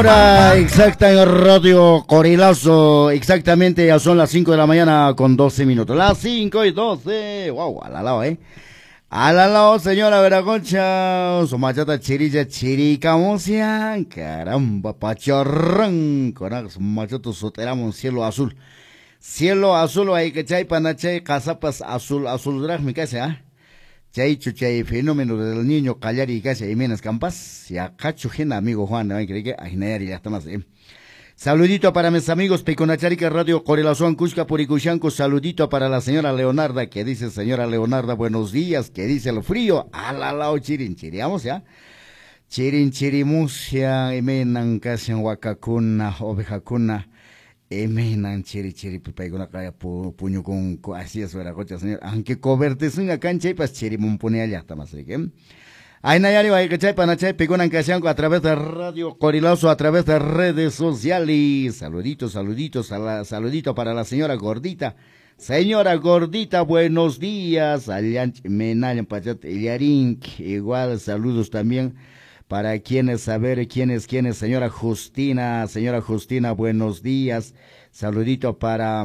Hora exacta en Radio Corilazo, exactamente ya son las 5 de la mañana con 12 minutos. Las 5:12, wow, al lado, Al lado, señora Veraconcha, su machata chirilla chiricamusia, caramba, pacharrán, con su machato soteramos cielo azul. Cielo azul, hay que chay, panachay, casapas azul, azul, dragmi, casi, ¿ah? Chaychu chay fenómeno del niño Callari casi Jiménez Campas, ya cacho jena amigo Juan, ¿no? Cree que ajinayari ya está más, ¿eh? Saludito para mis amigos Peconacharica Radio Corelazuan Cusca Puricushanco, saludito para la señora Leonarda, que dice señora Leonarda, buenos días, que dice el frío, a la lao chirin, chiriamos ya. Chirin chirimusia, emenan casi en huacacuna, ovejacuna. Emenan chiri chiri paykuna kaya puñu con así es vera cocha señor aunque cobertesunga cancha y pas chiri mumpunea llaqta más que Aynayari wayqichay panachay pikunan kashanku a través de Radio Corilazo, a través de redes sociales. Saluditos, saluditos, saludito para la señora Gordita. Señora Gordita, buenos días. Allanch menayan pachat illarink. Igual saludos también para quienes, a ver, quiénes, quiénes, señora Justina, buenos días. Saludito para,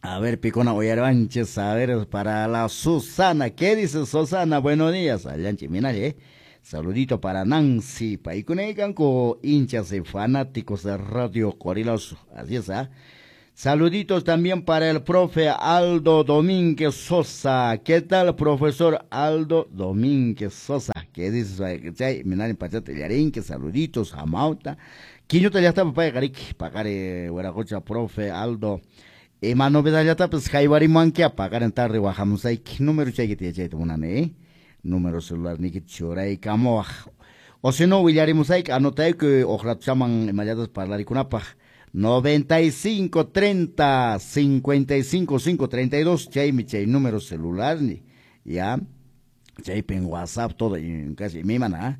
a ver, Picona Oyarvanches, a ver, para la Susana. ¿Qué dice Susana? Buenos días. Allanchi Minale, Saludito para Nancy, Paicunecanco, hinchas y fanáticos de Radio Corilazo. Así es, ¿ah? Saluditos también para el profe Aldo Domínguez Sosa. ¿Qué tal, profesor Aldo Domínguez Sosa? ¿Qué dices? Saluditos, Amauta. Quiñota ya está, papá, Garik, pagare, Hueracocha, profe Aldo. Ima novedad ya está, pues, Jaibarimanquia, pagar en tarde, Guajamusay. Número chay, munane, número celular, ni que choray, camoaj. O si no, Villarimusay, anotay que ojalá chaman, mayadas parlaricunapaj. 95 30 55 5 32, chay mi chay número celular, ni, ya, chay en WhatsApp, todo, y casi mi mana,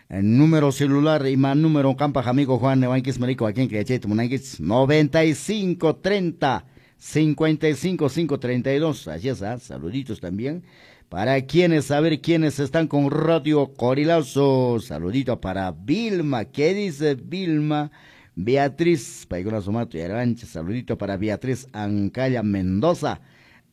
el número celular y más número campa amigo Juan Nevanquis Marico, a quien que chay tumunanquis, 95 30 55 5 32, así es, ¿ah? Saluditos también para quienes, a ver quiénes están con Radio Corilazo, saludito para Vilma, ¿qué dice Vilma? Beatriz, Paigona Sumato y Arancha, saludito para Beatriz Ancaya Mendoza.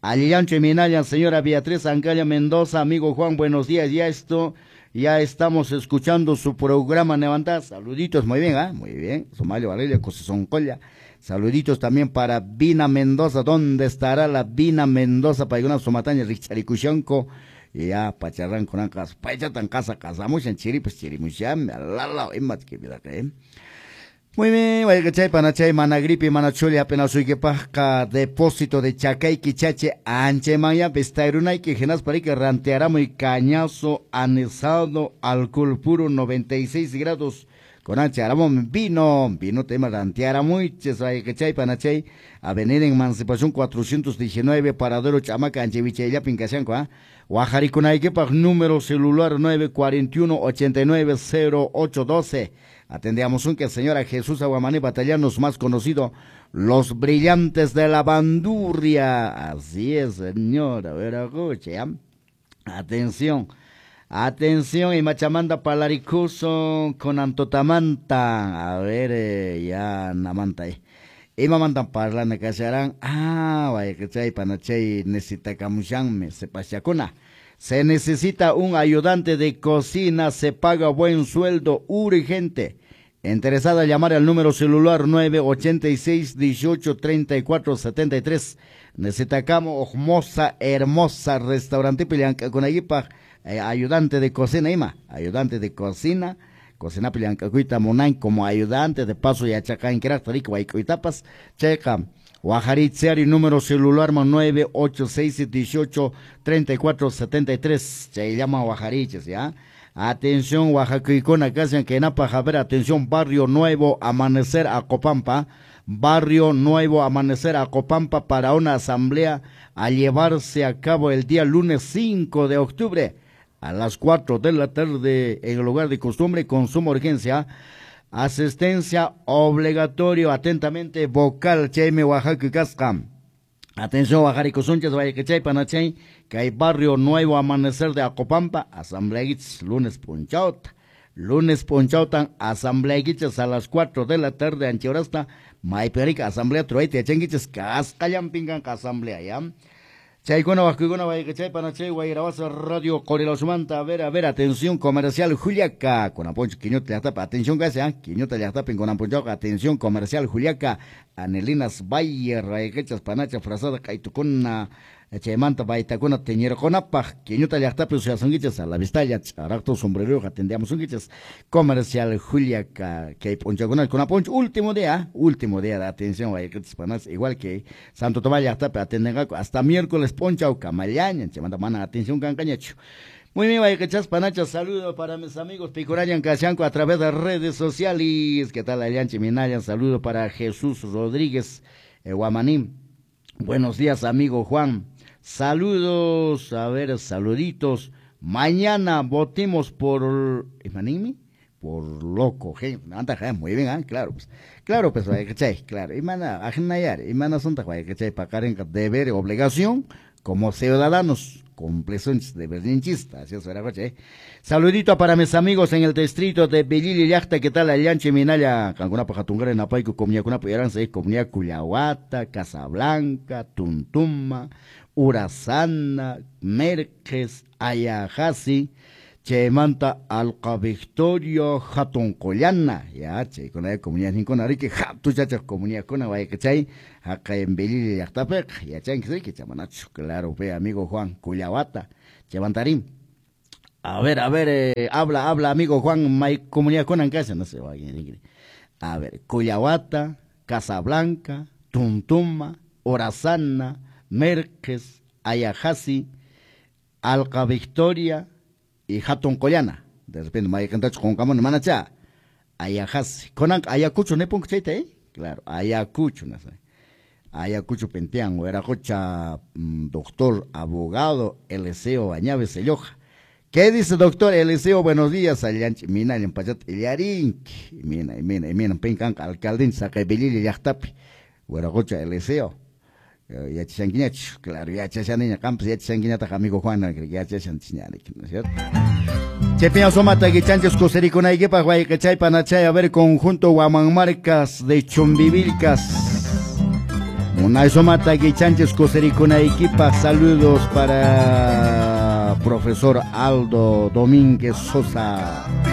Alillancho y Minaya, señora Beatriz Ancaya Mendoza, amigo Juan, buenos días, ya esto, ya estamos escuchando su programa Levantá, saluditos, muy bien, ¿ah? Muy bien, Somalio Valeria, Cosesoncolla, saluditos también para Vina Mendoza, ¿dónde estará la Vina Mendoza? Paigona Sumataña, Richaricushanco, ya, pacharran con ancas, pachatan casa, casamos en chiri, pues chirimusham, alala, imat que vida que. Muy bien, vaya panachay, managripi, manachuli, apenas uykipajqa, depósito de chacay, quichache, anchemaya, pestairunayki, genas parique, rantearamo y cañazo, anesado, alcohol puro, 96 grados, con anche, aramón, vino, vino tema, rantearamuiches, vaya panachay, Avenida Emancipación 419, Paradero Chamaca, Anchevichella, Pincasianco, ¿ah? Guajaricunayquipaj, número celular 941 89 0812. Atendíamos un que señora Jesús Aguamaní Batallanos, más conocido, los brillantes de la bandurria. Así es, señora, veracrucha. Atención, atención, y Machamanda Palaricuso con Antotamanta. A ver, ya, Namanta, Y mamantan parlana kasharan. Ah, vaya que chay, panachay, necesita camushanme, se pachacuna. Se necesita un ayudante de cocina, se paga buen sueldo, urgente. Interesada, llamar al número celular 986 18 34 73. Necesitamos hermosa, hermosa restaurante Pilianca con Aguipa, ayudante de cocina, ima, ayudante de cocina, cocina Pilianca cuita monain como ayudante de paso y achaca en rico guaycuitapas, checa. Guajaritziari, número celular 986 18 34 73. Se llama Guajariches, ¿ya? Atención, Oaxacuicona, casi en Napa, Javier, atención, Barrio Nuevo Amanecer, Acopampa. Barrio Nuevo Amanecer, Acopampa, para una asamblea a llevarse a cabo el día lunes 5 de octubre a las 4 de la tarde en el lugar de costumbre, con suma urgencia. Asistencia obligatorio, atentamente, vocal, Chayme, Oaxaca y Casca. Atención, Oaxarico, Sunchas, Vallechay, Panachay, que hay Barrio Nuevo Amanecer de Acopampa, asamblea lunes punchaut. Lunes p'unchawtan asambleaykichis a las 4 de la tarde ancha horasta maypi asamblea truayta yachankichis kasqallanpin kanqa asamblea, ya. Chaykuna waqkuykuna wayqichay panachay Wayrawasa Radio Qorilawsumanta. A ver, atención comercial Juliaca. Kunan p'unchaw Quiñota llaqtapi atención kashan, Quiñota llaqtapin kunan p'unchawqa atención comercial Juliaca. Anelinas Valle rayqichas panacha frazada q'aytukuna chaymanta baytakuna tiñirqunapaq Quiñota llaqtapi suyasunkichis a la vistalla ch'araqtu sombreruyuq atendiamusunkichis comercial Juliaca kay p'unchawkuna kunan p'unchaw último día de atención wayqichas panacha igual que Santo Tomás llaqtapi atendenqaku hasta miércoles p'unchaw kamallaña chaymanta mana atención kanqañachu. Muy bien, wayqichas panacha, saludo para mis amigos Picurañan Kashanku a través de redes sociales. ¿Qué tal, Allanchi Minayan? Saludo para Jesús Rodríguez Guamanín. Buenos días, amigo Juan. Saludos, a ver, saluditos. Mañana votemos por... ¿Imanimi? Por loco, muy bien, ¿eh? Claro, pues. Claro, pues, claro. Imana, ajnayar, imana sonta, paqarinqa deber, obligación, como ciudadanos. Cumplesunchis deberninchista, así es, ¿eh? Saludito para mis amigos en el distrito de Belili llaqta, ¿qué tal? Allanchi Minaya, qankunapa hatungara napayku comunidadkunapi yaransa, comunidad Cuyahuata, Casablanca, Tuntuma, Urazana, Merques, Ayajasi, chaymanta Alqa Victoria, Hatunqullana, ya, chaykuna comunidad ninkuna riki, hatuchachaq comunidadkuna wayqichay, haqay en Belili llaqtapiqa, yachanki riki, chamanachu, claro, ve amigo Juan, Cuyahuata, chaymantarín. A ver, habla, amigo Juan, may comunidadkuna en casa, no sé, a ver, Cuyahuata, Casablanca, Tuntuma, Horazana, Merques, Ayajasi, Alqa Victoria y Hatunqullana. De repente mayqintachu qunqamuni manacha. Ayajasi. Kunanqa Ayacucho nipunku chayta, ¿eh? Claro, Ayacucho, no sé. Ayacucho Pentian, Hueracocha, doctor, abogado, Eliseo Añaves Selloja. ¿Qué dice doctor Eliseo? Buenos días, Allanchi Minallan pachata illarinki. Mina, pinkanqa alcaldinchis haqay Belili llaqtapi. Hueracocha Eliseo. Yachashankiñachu, claro, yachashaniña, qampas yachashankiñataq amigo Juan, yachashanchis ña, ¿no es cierto? Chepiña somata guichanchis kusirikunaykipaq wayqichay panachay, a ver, conjunto Huamanmarcas de Chumbivilcas. Munay somata guichanchis kusirikunaykipaq, saludos para profesor Aldo Domínguez Sosa.